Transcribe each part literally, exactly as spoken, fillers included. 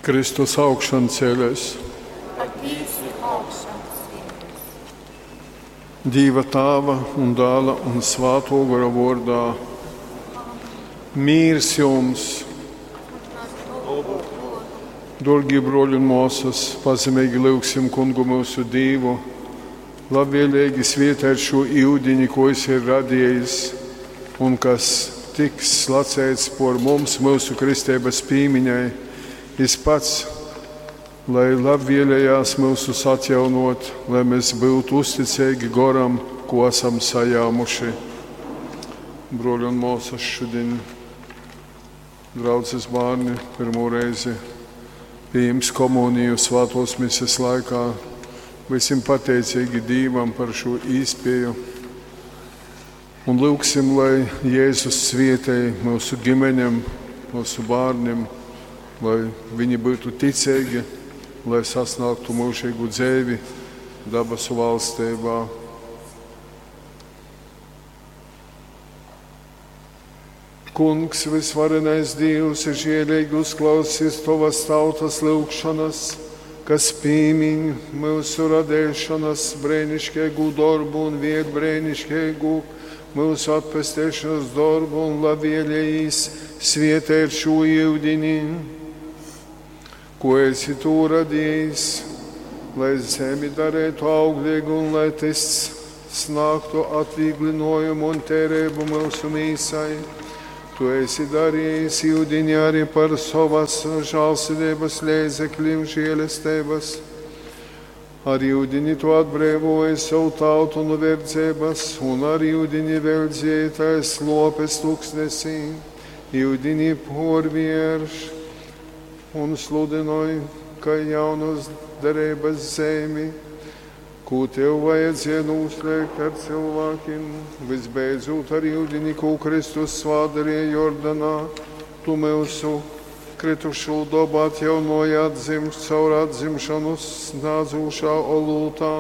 Kristus augšancēlēs. Patīsi augšancēlies. Dīva Tāva un Dāla un Svātō Gora vōrdā. Mīrs jums! Dōrgī brōļi un mōsas, pazemīgi lyugsim Kungu myusu Dīvu, labvēlīgi svietēt šū iudini, ko jis ir radījis un kas tiks slaceits por mums myusu kristeibas pīmiņai. Jis pats, lai labvēlējās myusus atjaunot, lai mēs būtu uzticīgi goram, ko esam sajāmuši. Brōļi un māsas, šodien draudzes bērni pirmo reizi pieņems komuniju svētos mises laikā. Būsim pateicīgi Dīvam par šo īspēju un lūgsim, lai Jēzus svietēj mūsu ģimenēm, mūsu bērniem, lai viņi būtu ticīgi, lai sasniegtu mūžīgu dzīvi dabasu valstībā. Kungs, visvarenais Dievs, žēlīgi uzklausīs tavas tautas lūgšanas, kas pīmiņ mūsu radēšanas brēnišķīgu darbu un viet brēnišķīgu mūsu atpestēšanas darbu un labvēlējīs svietēt šo iudini, ko esi tu radījis, lai zemi darētu auglīgu un lai tas snāktu atvieglinājumu un tērēbu mūsu mīsai. Tu esi darījis iudini arī par savas žālsirdības līdzekļiem žēlestības. Ar iudini tu atbrīvoji savu tautu no verdzības, un ar iudini veldzēji tais lopes tuksnesī. Iudini porvierš un sludināji, ka jaunas derības zemi, ko tev vajadzēja noslēgt ar cilvēkiem, visbeidzot ar iudini, ko Kristus svādarīja Jordanā, tu mūsu kritušo dabu atjaunoji atdzimst caur atzimšanu snādzošā olūtā,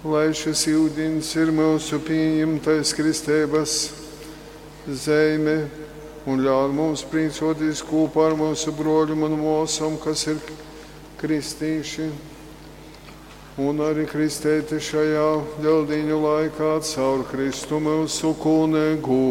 lai šis iudins ir mūsu pieņemtais kristības zeime un ļauj mums priecoties kopā ar mūsu broļiem un māsām, kas ir kristīši, un arī kristēti šajā Lieldiņu laikā caur Kristu mūsu kungu.